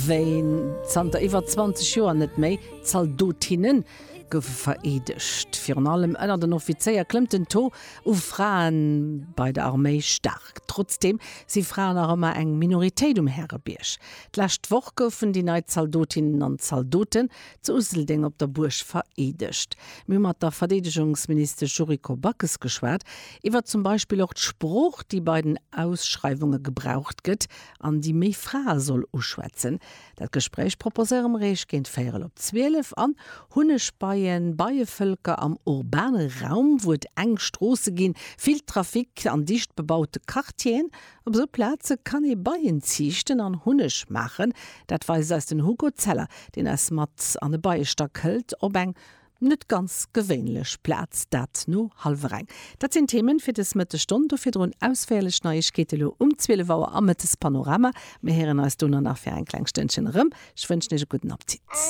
wéi zanter iwwer 20 Joer net méi. Zaldotinne goufe vereedegt. Virun allem ënner den Offizéier klëmmt den Taux u Frae bei der Arméi staark. Trotzdeem si Fraen nach ëmmer eng Minoritéit um Härebierg. D'lescht Woch goufen déi nei Zaldotinnen an Zaldoten zu Useldeng op der Buerg vereedegt. Mir hu mat der Verdeedegungsministesch Yuriko Backes geschwat iwwer zum Beispill och d'Sprooch, déi bei den Ausschreiwunge gebraucht gëtt an déi méi Frae soll uschwätzen. Dat Gespréich proposéiere mer Iech géint véierel op 12 an Hunnegbeien, Beievëlker am urbane Raum, wou et enk Stroosse ginn, vill Trafic an dicht bebaute Quartieren. Op esou Plaze kann ee Beien ziichten an Hunneg maachen. Dat weist eis den Hugo Zeller, deen eis mat an e Beiestack hëlt op eng net ganz gewéinlech Plaz, dat no hallwer eng. Dat sinn d'Themen fir des Mëttesstonn. Do virdrun ausféierlech Neiegkeete lo um 12 Auer am Mëttespanorama. Mir héieren eis dono nach fir eng kleng Stënnchen erëm. Ech wënschen iech e gudden Appetit.